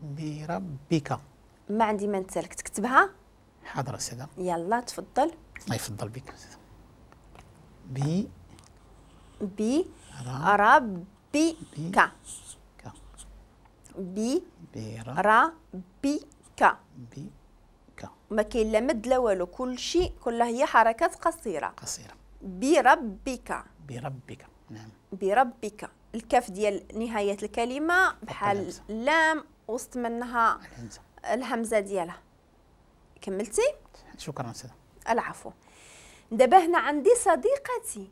بربك. ما عندي ما نتسالك، تكتبها؟ حاضر أستاذة. يلا تفضل. الله يفضل بك أستاذة. بي بي ربك. بي ربك. بك. ما كاين لا مد لا والو، كل شيء كلها هي حركات قصيرة. قصيرة. بربك. بربك. نعم. بربك. الكاف ديال نهاية الكلمة بحال اللام وسط منها الهمزة، الهمزة ديالها. كملتي؟ شكرا أستاذة. العفو. دابا هنا عندي صديقتي.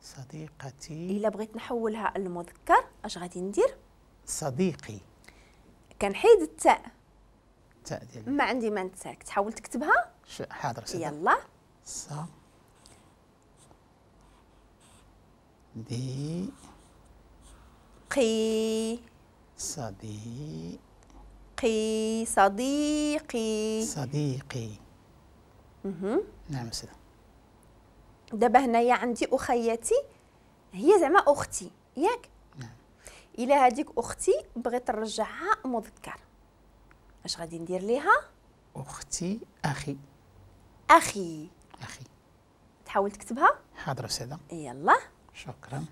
صديقتي إلا بغيت نحولها للمذكر اش غادي ندير؟ صديقي. كنحيد التاء. التاء ديال ما عندي ما نتسالك، تحاول تكتبها؟ حاضر أستاذة. يلا. ص دي قي صديقي صديقي. صديقي. نعم أستاذة. دابا هنايا عندي أخيتي، هي زعما أختي، ياك؟ نعم. إلا هذيك أختي بغيت نرجعها مذكر، اش غادي ندير ليها؟ أختي أخي. أخي. أخي. تحاول تكتبها؟ حاضر أستاذة. يلا. شكرا.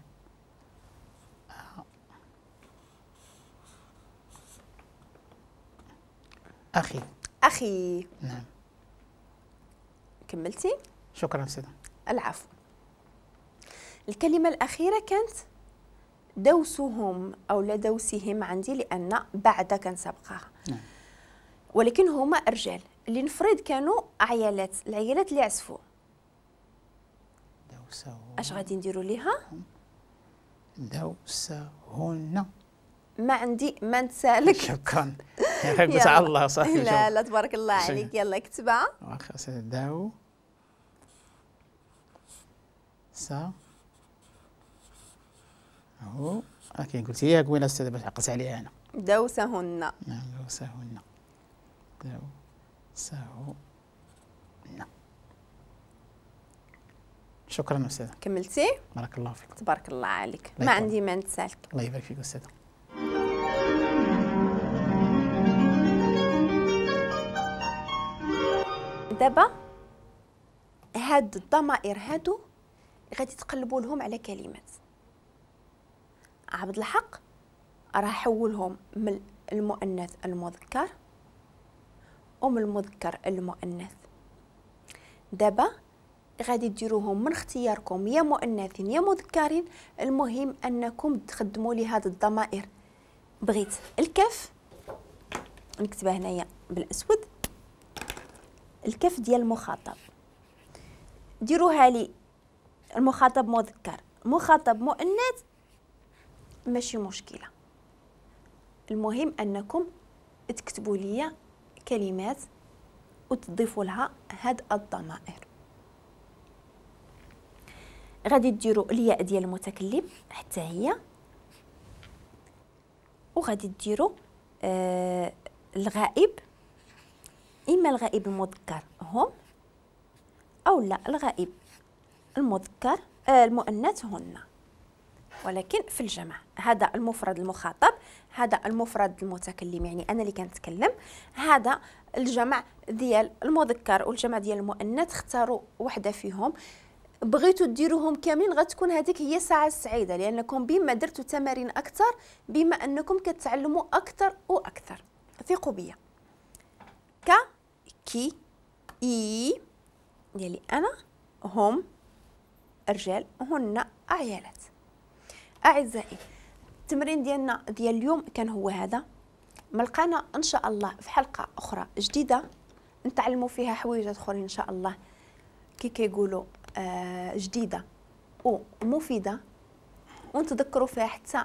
أخي. أخي. نعم. كملتي؟ شكرا أستاذة. العفو. الكلمة الأخيرة كانت دوسهم أو لا دوسهم عندي، لأن بعد كان سابقاها. نعم. ولكن هما رجال، اللي نفرض كانوا عيالات، العيالات اللي عزفوا. دوسهن. اش غادي نديروا ليها؟ دوسهن. ما عندي ما نتسالك. شكرا. قلت على الله صافي. لا لا تبارك الله عليك. يلا كتبها. واخا داو سا هو كاين، قلت لي قبيلة استاذه باش عقلت عليها انا. دوسهن. نعم دوسهن. دوسهن. شكرا استاذه. كملتي؟ بارك الله فيك. تبارك الله عليك. ما عندي ما نتسالك. الله يبارك فيك استاذه. دابا هاد الضمائر هادو غادي تقلبوا لهم على كلمات. عبد الحق راه حولهم من المؤنث المذكر ومن المذكر المؤنث. دابا غادي ديروهم من اختياركم، يا مؤنثين يا مذكرين، المهم انكم تخدموا لي هاد الضمائر. بغيت الكاف نكتبها هنايا بالاسود، الكاف ديال المخاطب ديروها لي المخاطب مذكر مخاطب مؤنث ماشي مشكلة، المهم انكم تكتبوا لي كلمات وتضيفوا لها هاد الضمائر. غادي ديروا الياء ديال المتكلم حتى هي، وغادي ديروا الغائب، اما الغائب المذكر هم او لا الغائب المذكر المؤنث هن، ولكن في الجمع. هذا المفرد المخاطب، هذا المفرد المتكلم يعني انا اللي كنتكلم، هذا الجمع ديال المذكر والجمع ديال المؤنث. اختاروا وحده فيهم، بغيتوا ديروهم كاملين غتكون هذيك هي الساعة السعيدة، لانكم بما درتوا تمارين اكثر بما انكم كتعلموا اكثر واكثر. ثقوا بيا. ك كي اي ديالي انا، هم رجال، هن عيالات. اعزائي التمرين ديالنا ديال اليوم كان هو هذا. ملقانا ان شاء الله في حلقة اخرى جديدة نتعلموا فيها حويجات اخرين ان شاء الله، كي كيقولوا جديدة ومفيدة، ونتذكروا فيها حتى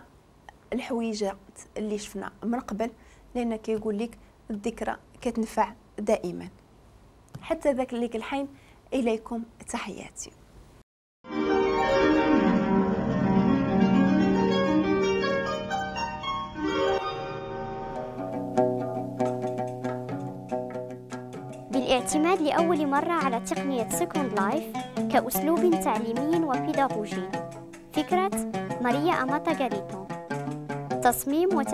الحويجات اللي شفنا من قبل، لان كيقول لك الذكرى كتنفع دائما. حتى ذاك اللي الحين، اليكم تحياتي. بالاعتماد لأول مرة على تقنية Second Life كأسلوب تعليمي وبيداغوجي. فكرة ماريا أماتا غاريتو. تصميم